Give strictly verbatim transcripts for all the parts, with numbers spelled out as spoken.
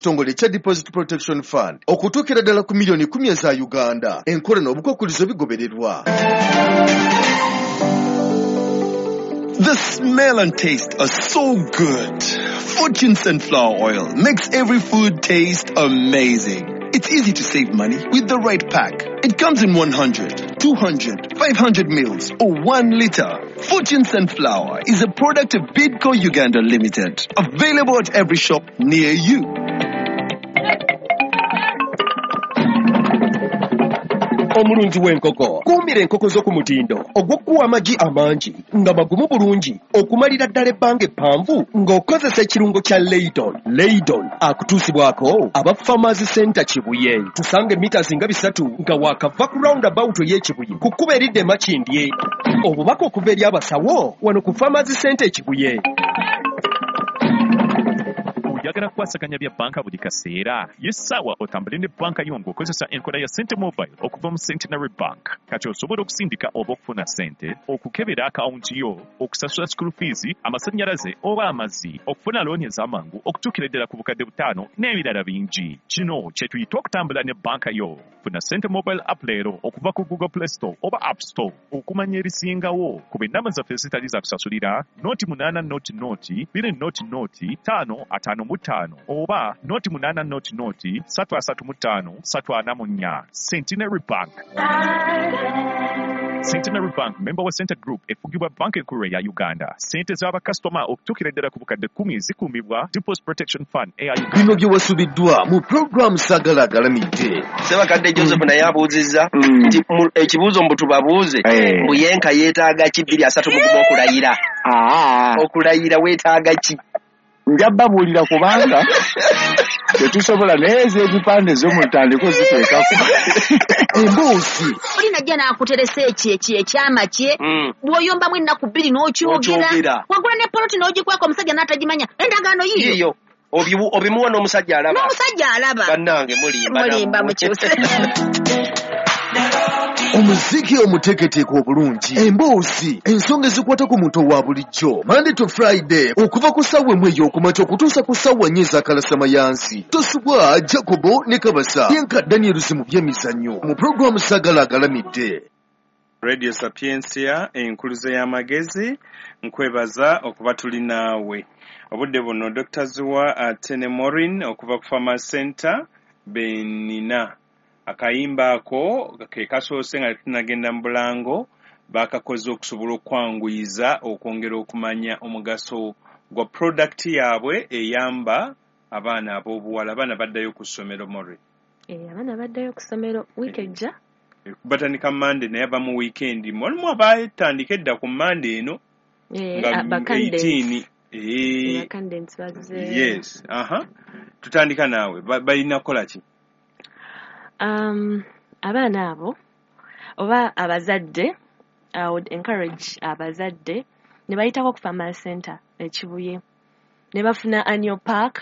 Kitongole kya Deposit Protection Fund okutuukira ddala ku miliyoni kumi eza Uganda. Enkola n'obukwakkulizo bigobererwa. The smell and taste are so good. Fortune Sunflower Oil makes every food taste amazing. It's easy to save money with the right pack. It comes in one hundred, two hundred, five hundred mils or one liter. Fortune Sunflower is a product of Bidco Uganda Limited. Available at every shop near you. Omulunzi w'enkoko, kuumira enkoko zo ku mutindo ogw'okuwa amagi amangi nga magumu bulungi okumalira ddala ebbanga eppanvu ng'okozesa ekirungo kya Leydon. Leydon akutuusibwako aba Farmers Center Kibuye. Tusange mita zinga bisatu nga waakava ku roundabout ey'Ekibuye ku kkubo eridda e Makindye. Obubaka okuva eri abasawo wano ku Farmers Center e Kibuye. Oyagala kukwasaganya bya bbanka buli kaseera? Ye ssaawa otambule ne bbanka yo ng'okozesa enkola ya Sente Mobile okuva mu Centenary Bank. Kati osobola okusindika oba okufuna ssente, okukebera akawunti yo, okusasula school fees, amasannyalaze oba amazzi, okufuna looni ez'amangu okutuukira ddala ku bukadde butaano n'ebirala bingi. Kino kye tuyita okutambula ne bbanka yo. Funa Sente Mobile app leero okuva ku Google Play Store oba App Store. Okumanya ebisingawo ku ennamba zaffe ezitali za kusasulira noti munaana noti noti bbiri noti noti ttaano ataano mu ttaano oba noti munaana noti noti ssatu asatu mu ttaano ssatu ana mu nnya. Centenary Bank. Centenary Bank, member wa Center Group, efugibwa Banka Enkulu eya Uganda. Ssente z'abakasitoma okutuukira ddala ku bukadde kkumi zikuumibwa Deposit Protection Fund eya Uganda. Bino bye wasubiddwa mu pulogulaamu Saagala Agalamidde. Ssemakadde Joseph naye abuuzizza nti ekibuuzo mbu tubabuuze mbu yenka yeetaaga ki bbiri asatu mu gumu okulayira. Okulayira weetaaga ki? Nja babuulira kubanga tetusobola naye ez'ebipande zo mutandike ziteekako. Emboozi. Oli najja n'akuteresa ekyo ekyo ekyama kye, bw'oyombamu ennaku bbiri n'okyogera. Wagula ne poloti n'ogikweka omusajja n'atagimanya. Endagaano yiyo. Obimuwa n'omusajja alaba. N'omusajja alaba. Bannange mulimba. Mulimba mukyuse. Omuziki omuteeketeeke obulungi, emboozi, ensonga ezikwata ku muntu owa bulijjo. Monday to Friday okuva ku ssaawa emu ey'okumakya okutuusa ku ssaawa nnya ez'akalasamayansi. Tosubwa Jacobo ne Kabasa Yenka Daniels mu by'emizannyo mu pulogulaamu Saagala Agalamidde. Radio Sapientia enkuluze y'amagezi, nkwebaza okuba tuli naawe. Obudde buno Doctor Zuwa ate ne Maureen okuva ku Farmers Center benina. Akayimba ako ke kasoose nga tetunnagenda mu bulango, bakakoze okusobola okwanguyiza okwongera okumanya omugaso gwa product yaabwe eyamba abaana ab'obuwala. Abaana baddayo ku ssomero, Maureen. Eh, abaana baddayo ku ssomero wiiki ejja. Batandika Monday naye abamu weekend. Walimu abatandika edda ku Monday eno nga eighteen. Eh, yes, aha. Tutandika naawe. Balina kukola ki? Um, abaana abo oba abazadde, I would encourage abazadde ne bayitako ku Farmers Center e Kibuye ne bafuna annual pack.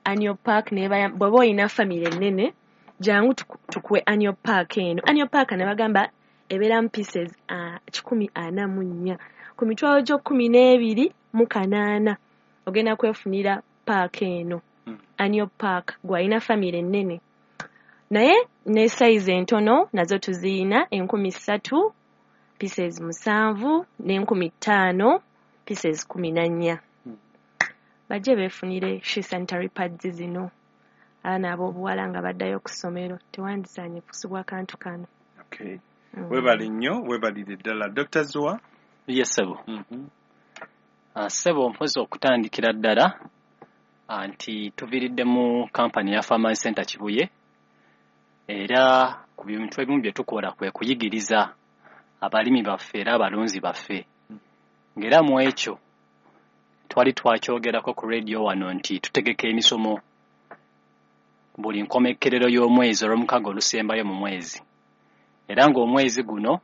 Annual pack ne bw'oba olina famire ennene jangu tukuwe annual pack eno. Annual pack ne bagamba ebeeramu pieces uh, kikumi ana mu nnya ku mitwalo gyo kkumi n'ebiri mu kanaana ogenda kwefunira pack eno. Mm. Annual pack gw'alina famire ennene. Naye ne size entono nazo tuziyina enkumi ssatu pieces musanvu n'enkumi ttaano pieces kumi na nnya. Bajje beefunire she sanitary pads zino. Abaana ab'obuwala nga baddayo ku ssomero tewandisaanye kusubwa kantu kano. Okay. Mm. Weebale nnyo, weebalire ddala. Doctor Zuwa? Yes, ssebo. Mm-hmm. Uh, ssebo mpozi okutandikira ddala nti tuviiridde mu kampani ya Farmers Center Kibuye. Era ku bintu ebimu bye tukola kwe kuyigiriza abalimi baffe era abalunzi baffe. Ng'era mu ekyo twali twakyogerako ku radio wano nti tutegeka emisomo buli nkomekkerero y'omwezi olw'omukago olusembayo mu mwezi. Era ng'omwezi guno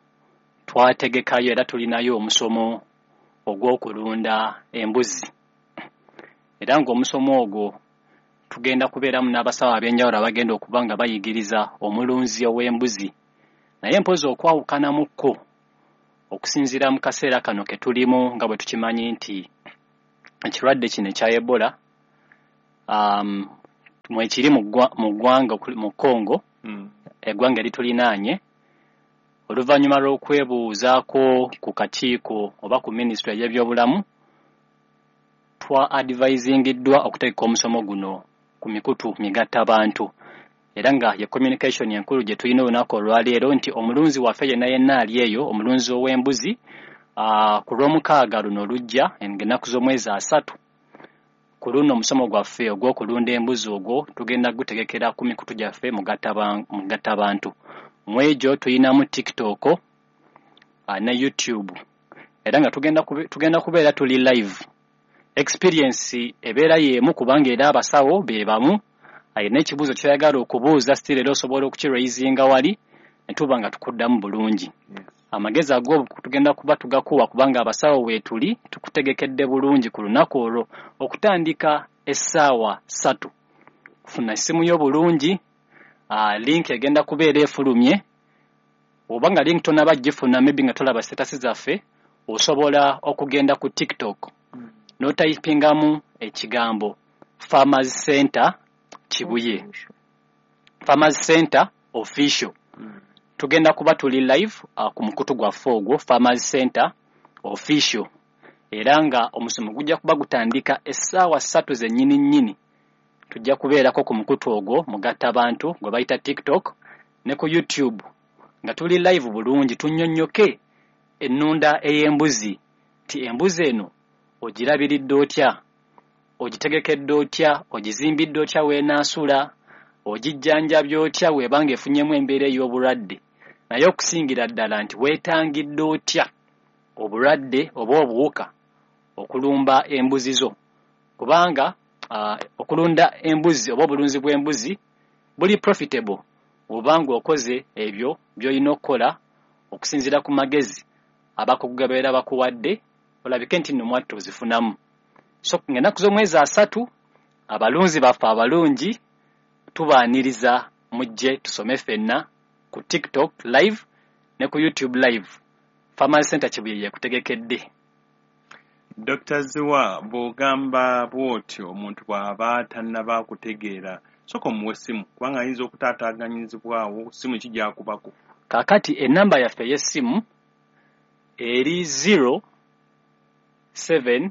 twategekayo era tulinayo omusomo ogw'okulunda embuzi. Era ng'omusomo ogwo tugenda kubeeramu n'abasawo ab'enjawulo abagenda okuba nga bayigiriza omulunzi ow'embuzi. Naye mpozi okwawukanamukko okusinziira mu kaseera kano ke tulimu nga bwe tukimanyi nti ekirwadde kino ekya Ebola um, Mwekiri mu ggwanga mu Congo, mm. eggwanga eritulinaanye, oluvannyuma lw'okwebuuzaako ku kakiiko oba ku minisitule y'ebyobulamu, twa advisingiddwa okutegeka omusomo guno ku mikutu migattabantu. Era nga ye communication enkulu gye tulina olunaku olwaleero nti omulunzi waffe yenna yenna ali eyo, omulunzi ow'embuzi, uh, ku lw'omukaaga luno lujja ennaku z'omwezi asatu, ku luno omusomo gwaffe ogw'okulunda embuzi ogwo tugenda gutegekera ku mikutu gyaffe mugattabantu. Mu egyo tulinamu TikTok uh, ne YouTube, era nga tugenda kube, tugenda kubeera tuli live. Experience ebeera y'emu kubanga era abasawo be bamu, alina ekibuuzo ky'oyagala okubuuza still era osobola okukiraisinga wali ne tuba nga tukuddamu bulungi. Amagezi ago tugenda kuba tugakuwa kubanga abasawo weetuli tukutegekedde bulungi ku lunaku olwo okutandika essaawa ssatu. Funa essimu yo bulungi, uh, link egenda kubeera efulumye, oba nga link tonaba gifuna maybe nga tolaba status zaffe, osobola okugenda ku TikTok mm. n'otayipingamu ekigambo Farmers Center Kibuye, Farmers Center Official. Mm. Tugenda kuba tuli live uh, ku mukutu gwaffe ogwo Farmers Center Official, era nga omusomo gujja kuba gutandika essaawa ssatu zennyini nnyini. Tujja kubeerako ku mukutu ogwo mugattabantu gwe bayita TikTok ne ku YouTube nga tuli live bulungi, tunnyonnyoke ennunda ey'embuzi nti embuzi eno ogirabiridde otya, ogitegekedde otya, ogizimbidde otya weenaasula, ogijjanjabye otya bw'ebanga efunyemu embeera ey'obulwadde, naye okusingira ddala nti weetangidde otya obulwadde oba obuwuka okulumba embuzi zo, kubanga uh, okulunda embuzi oba obulunzi bw'embuzi buli profitable obanga okoze ebyo by'olina okukola okusinziira ku magezi abakugu gabeera bakuwadde, olabike nti nno mwattu ozifunamu. So ng'ennaku z'omwezi asatu abalunzi baffe abalungi tubaaniriza mujje tusome ffenna ku TikTok live ne ku YouTube live. Farmers Center Kibuye yekutegekedde. Doctor Ziwa, bw'ogamba bw'otyo omuntu bw'aba tannaba kutegeera, sooka omuwe essimu kubanga ayinza okutaataaganyizibwawo, ssimu ki gy'akubako? Kaakati ennamba yaffe ey'essimu eri zero seven